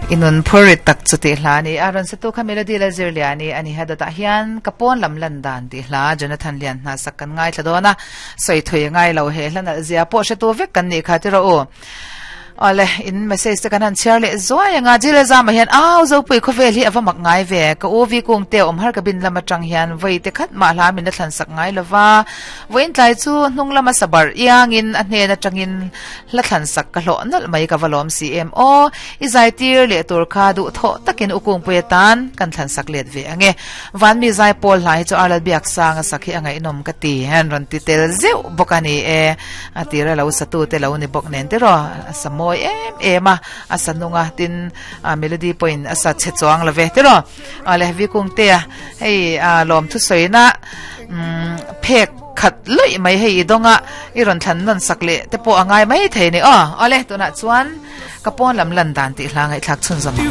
I nun phur rit tak chu tih hla a ni a, rawn satu kha Melody Lalzirliani a ni. Dawtah hian ka pawn lam lan dan tih hla Jonathan Lian hna sak kan ngaithla dawn a, sawi thui a ngai lo he hla nalh zia pawh hretu vek kan nih kha ti rawh u. Awle, in message te kan han chhiar leh zuai ang a, Jile Zama hian au Zopui khawvel hi a va mak ngai ve, ka u vi kung te awm har cabin lam atang hian vawi te khat mah hla min la thlan sak ngai lova, vawiin tlai chu hnung lama sabar iangin a hnen atangin hla thlan sak ka hlawh nalh mai ka va lawm si em aw, i zai tir leh tur kha duh thawh takin u kungpui atan kan thlan sak let ve ang e, Vanmi zai pawl hla hi chu Arlal Biaksang a sak hi a ngaihnawm ka ti, an rawn ti tel zeuh bawk a ni e. A tira lo satu te lo ni bawk nen tiraw a sa mawi em em a, a sa nung a tin a melody pawhin a sa chhe chuang lo ve tiraw. A le Vikung te a hei a lawm thusawi na umm phek khat luih mai hei i dawnga i rawn thlan nawn sak leh te pawh a ngai mai thei ni aw. Awle tunah chuan ka pawn lam lan dan tih hla ngaihthlak chhunzawm ang.